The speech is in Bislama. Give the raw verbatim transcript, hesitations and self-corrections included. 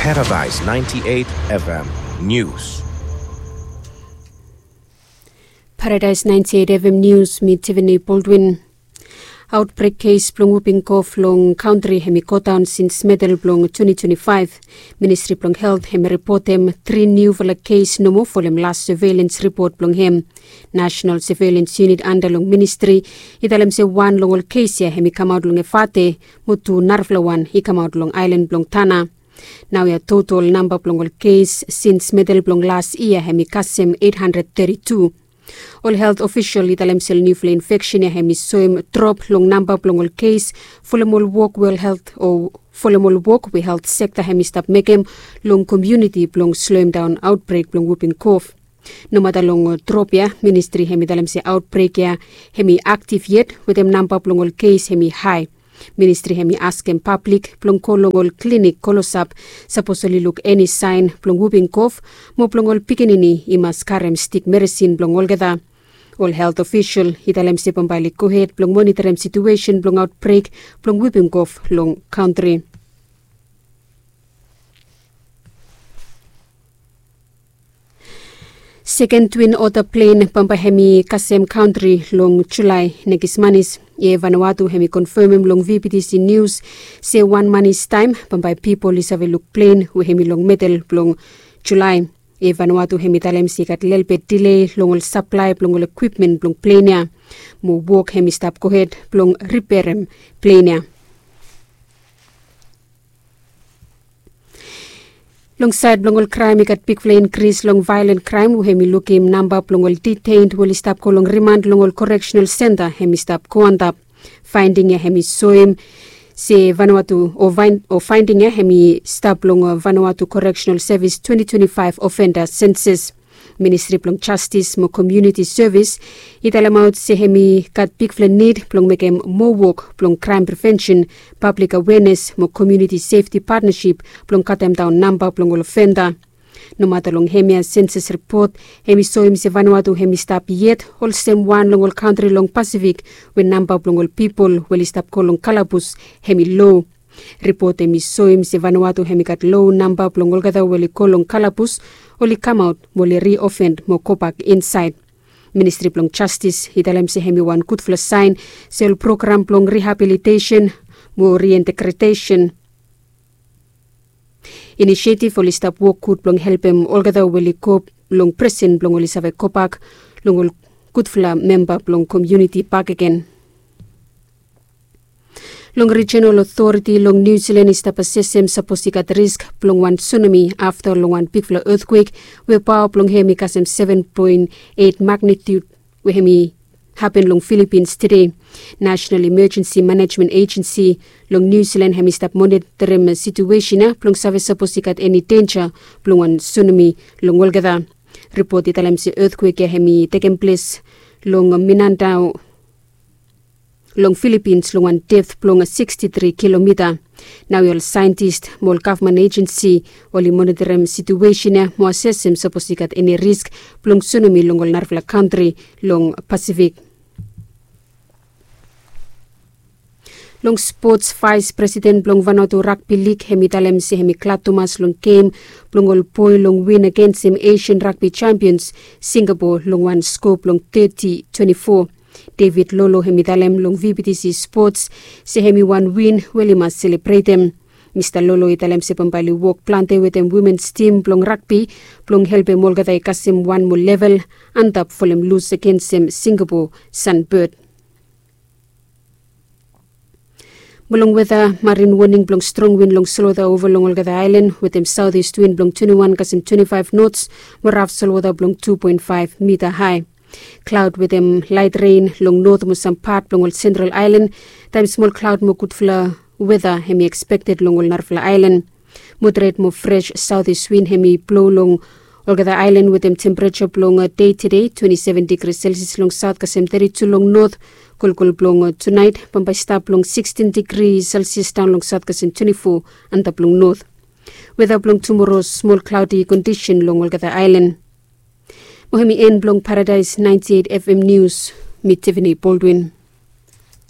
Paradise ninety-eight F M News. Paradise ninety-eight F M News, mi Tiffany Baldwin. Outbreak kes blong whooping cough long kantri hemi godaon sins medel blong twenty twenty-five. Ministri blong Helt hemi ripotem tri niufala kes nomo folem las surveillance ripot blong hem. National Surveillance Unit anda long ministri i talem se wan long ol kes ya hemi kamaot long Efate, mo tu narafala wan i kamaot long aelan blong Tanna. Naoia total namba blong ol kes sins medel blong las yia hemi kasem eight hundred thirty-two. Ol helt ofisol i talem se ol niufala infeksen ya hemi soem drop long namba blong ol kes folem ol wok we ol helt o folem ol wok we helt sekta hemi stap mekem long komuniti blong sloem daon aotbrek blong whooping cough. Nomata long drop ya, ministri hemi talem se aotbrek ya hemi aktif yet wetem namba blong ol kes hemi hae. Ministri hemi askem pablik blong go long ol klinik klosap sapos oli luk eni saen blong whooping cough, mo blong ol pikinini i mas karem stik meresin blong olgeta. Ol helt ofisol i talem se bambae oli gohed blong moniterem situesen blong aotbrek blong whooping cough long kantri. Seken Twin Otter plen bambae hemi kasem kantri long Julae nekis manis. Ia Vanuatu hemi konfemem long V B T C News se wan manis taem bambae pipol i save luk plen we hemi long medel blong Julae. Ia Vanuatu hemi talem se i gat lelebet dile long ol saplae blong ol ekwipmen blong plen ya, mo wok hemi stap gohed blong riperem plen ya. Long saed blong ol kraem i gat bigfala inkris long vaelan kraem we hemi lukim namba blong ol detained we oli stap go long rimand long ol correctional centre hemi stap go antap. Faending ya hemi soem se Vanuatu o faending ya hemi stap long Vanuatu Correctional Service twenty twenty-five offender census. Ministri blong Jastis mo Komuniti Sevis i talemaot se hemi gat bigfala nid blong mekem moa wok blong kraem prevensen, pablik awenes mo komuniti sefti patnasip blong katemdaon namba blong ol ofenda. Nomata long hemia sensas ripot hemi soem se Vanuatu hemi stap yet olsem wan long ol kantri long Pasifik we namba blong ol pipol we oli stap go long kalabus hemi lo. Ripot hemi soem se Vanuatu hemi gat lo namba blong olgeta we oli go long kalabus, oli kamaot mo oli riofend mo gobak insaed. Ministri blong Jastis i talem se hemi wan gudfala saen se ol program blong rihabilitesen mo riintegretesen inisiativ oli stap wok gud blong helpem olgeta we oli go long presen blong oli save gobak long ol gudfala memba blong komuniti bakegen. Long rijinal otoriti long Niu Jilan i stap asesem sapos i gat risk blong wan sunami afta long wan bigfala etkwek we paoa blong hem i kasem seven point eight magnitut we hem i hapen long Filipins tede. National Emergency Management Agency long Niu Jilan hem i stap monitorim situesen ya blong save sapos i gat eni denja blong wan sunami long olgeta. Ripot i talem se etkwek ya hem i tekem ples long Mindanao long Filipins long wan depth blong sixty-three kilomita. Naoia ol saentis mo ol gavman ejensi oli monitorim situesen ya mo asesem sapos i gat eni risk blong sunami long ol narafala kantri long Pasifik. Long spots, vaes presiden blong Vanuatu Rugby League hem i talem se hem i glad tumas long gem blong ol boe long win agensem Asian Rugby Champions Singapore long wan skoa blong thirty twenty-four. David Lolo hem i talem long V B T C Sports se hem i wan win we oli mas selebretem. Mista Lolo i talem se bambae oli wok plante wetem womens tim blong ragbi blong helpem olgeta i kasem wan moa level antap folem lus agensem Singapore Sunbird. Mo long weta, marin woning blong strong win long solwota ova long olgeta aelan wetem saotis win blong twenty-one kasem twenty-five nots mo raf solwota blong two point five mita hae. Klaod wetem laet ren long not mo sam pat blong ol sentral aelan, taem smol klaod mo gudfala weta hem i ekspekted long ol narafala aelan. Moderet mo fres saotis win hem i blo long olgeta aelan wetem tempereja blong dei tede twenty-seven digri selsias long saot kasem thirty-two long not. Kolkol blong tunaet bambae stap long sixteen digri selsias daon long saot kasem twenty-four antap long not. Weta blong tumoro, smol klaodi kondisen long olgeta aelan. Mo hem i en blong Paradaes ninety-eight F M Nius. Mi Tiffany Baldwin.